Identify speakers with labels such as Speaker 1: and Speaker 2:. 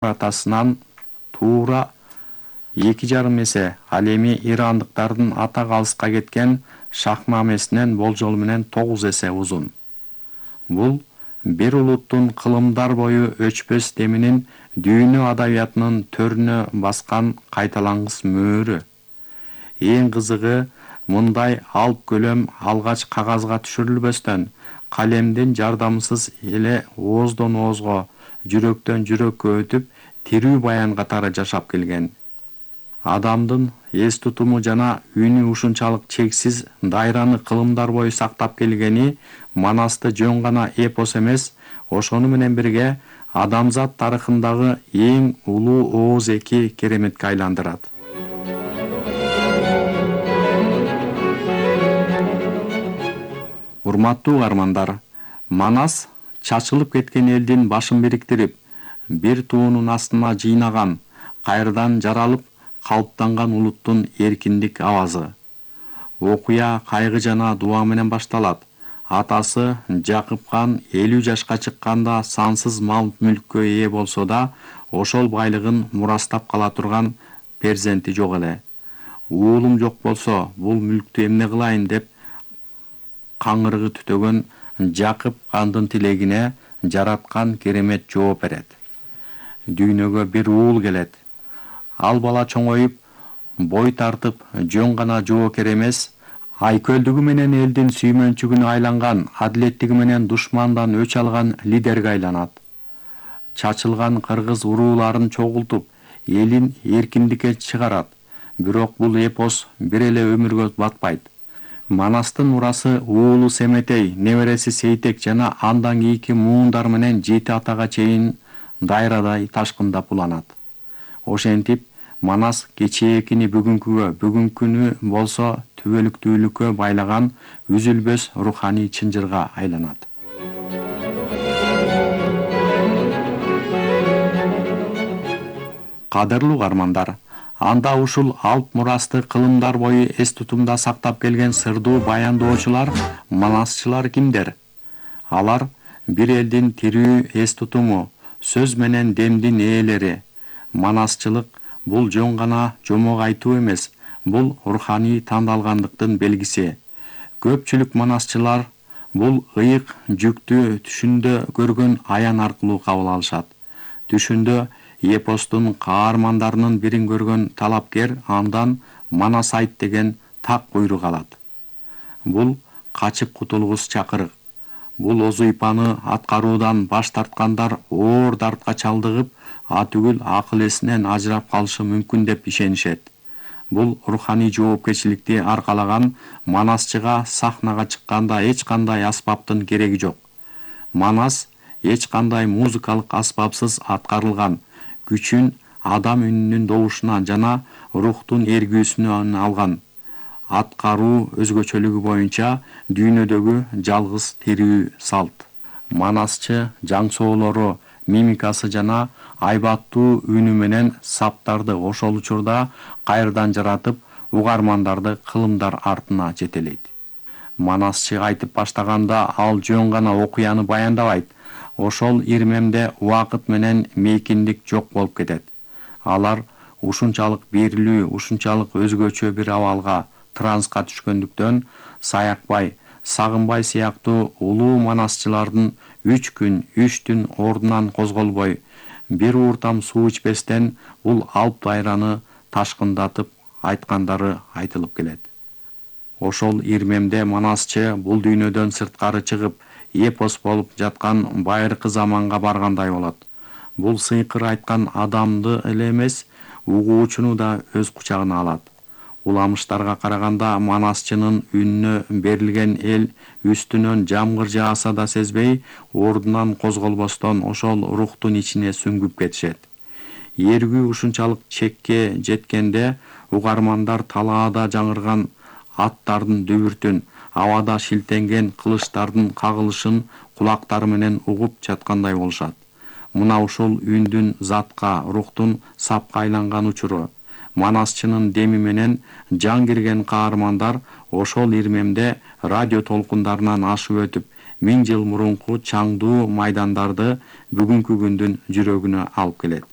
Speaker 1: атасынан туура 2,5 эсе ал эми ирандыктардын атак алыска кеткен шахнамесинен болжол менен 9 эсе узун. Бул бир улуттун кылымдар бою өчпөс деминин дүйнө адабиятынын төрүнө баскан кайталангыс мөөрү. Эң кызыгы, мындай алып көлөм алгач кагазга түшүрүлбөстөн, калемдин жардамысыз эле ооздон оозго, жүрөктөн жүрөккө өтүп, тирүү баян катары жашап келген. Адамдын эс тутуму жана үнү ушунчалык чексиз дайраны кылымдар бою сактап келгени Манасты жөн гана эпос эмес, ошону менен бирге адамзат тарыхындагы эң улуу ооз эки кереметке айландырат. Урматтуу угармандар, Манас чачылып кеткен элдин башын бириктирип, бир туунун астына жыйнаган, кайрадан жаралып калыптанган улуттун эркиндик авазы. Окуя кайгы жана дуа менен башталат. Атасы Жакып хан 50 жашка чыкканда сансыз мал мүлккө ээ болсо да, ошол байлыгын мурастап кала турган перзенти жок эле. Уулум жок болсо, бул мүлктү эмне кылайын деп каңырыгы түтөгөн Жакып хандын тилегине жараткан керемет жооп берет. Дүйнөгө бир уул келет. Ал бала чоңоюп, бой тартып, жөн гана жоокер эмес, айкөлдүгү менен элдин сүймөнчүгүнө айланган, адилеттиги менен душмандан өч алган лидерге айланат. Чачылган кыргыз урууларын чогултуп, элин эркиндикке чыгарат. Бирок бул эпос бир эле өмүргө батпайт. Манастын мурасы уулу Семетей, небереси Сейтек жана андан кийинки муундар менен 7 атага чейин дайрадай ташкындап уланат. Ошентип, Манас кечээкини бүгүнкүгө, бүгүнкүнү болсо түбөлүктүүлүккө байлаган үзүлбөс руханий чынжырга айланат. Кадырлуу угармандар, анда ушул алп мурасты кылымдар бою эс тутумда сактап келген сырдуу баяндоочулар, манасчылар кимдер? Алар бир элдин тирүү эс тутуму, сөз менен демдин ээлери. Манасчылык бул жөн гана жомок айтуу эмес, бул руханий тандалгандыктын белгиси. Көпчүлүк манасчылар бул ыйык жүктү түшүндө көргөн аян аркылуу кабыл алышат. Түшүндө эпостун каармандарынын бирин көргөн талапкер андан Манас айт деген так буйрук алат. Бул качып кутулгус чакырык. Бул озуйпаны аткаруудан баш тарткандар оор дартка чалдыгып, атүгүл акыл эсинен ажырап калышы мүмкүн деп ишенишет. Бул руханий жоопкерчиликти аркалаган манасчыга сахнага чыкканда эч кандай аспаптын кереги жок. Манас эч кандай музыкалык аспапсыз аткарылган, күчүн адам үнүнүн добушунан жана рухтун эргүүсүнөн алган. Аткаруу өзгөчөлүгү боюнча дүйнөдөгү жалгыз тирүү салт. Манасчы жаңсоолору, мимикасы жана айбаттуу үнү менен саптарды ошол учурда кайрадан жаратып, угармандарды кылымдар артына жетелейт. Манасчы айтып баштаганда ал жөн гана окуяны баяндабайт. Ошол ирмемде убакыт менен мейкиндик жок болуп кетет. Алар ушунчалык берилүү, ушунчалык өзгөчө бир абалга, транска түшкөндүктөн Саякбай, Сагынбай сыяктуу улуу манасчылардын 3 күн, 3 түн ордунан козголбой, бир ууртам суу ичпестен бул алп дайраны ташкындатып айткандары айтылып келет. Ошол ирмемде манасчы бул дүйнөдөн сырткары чыгып, эпос болуп жаткан байыркы заманга баргандай болот. Бул сыйкыр айткан адамды эле эмес, угуучуну да өз кучагына алат. Уламыштарга караганда манасчынын үнүнө берилген эл үстүнөн жамгыр жааса да сезбей, ордунан козголбостон ошол рухтун ичине сүңгүп кетишет. Эргүү ушунчалык чекке жеткенде угармандар талаада жаңырган аттардын дүбүртүн, абада шилтенген кылычтардын кагылышын кулактары менен угуп жаткандай болушат. Мына ушул үндүн затка, рухтун сапка айланган учуру. Манасчынын деми менен жан кирген каармандар ошол ирмемде радио толкундарынан ашып өтүп, 1000 жыл мурунку чаңдуу майдандарды бүгүнкү күндүн жүрөгүнө алып келет.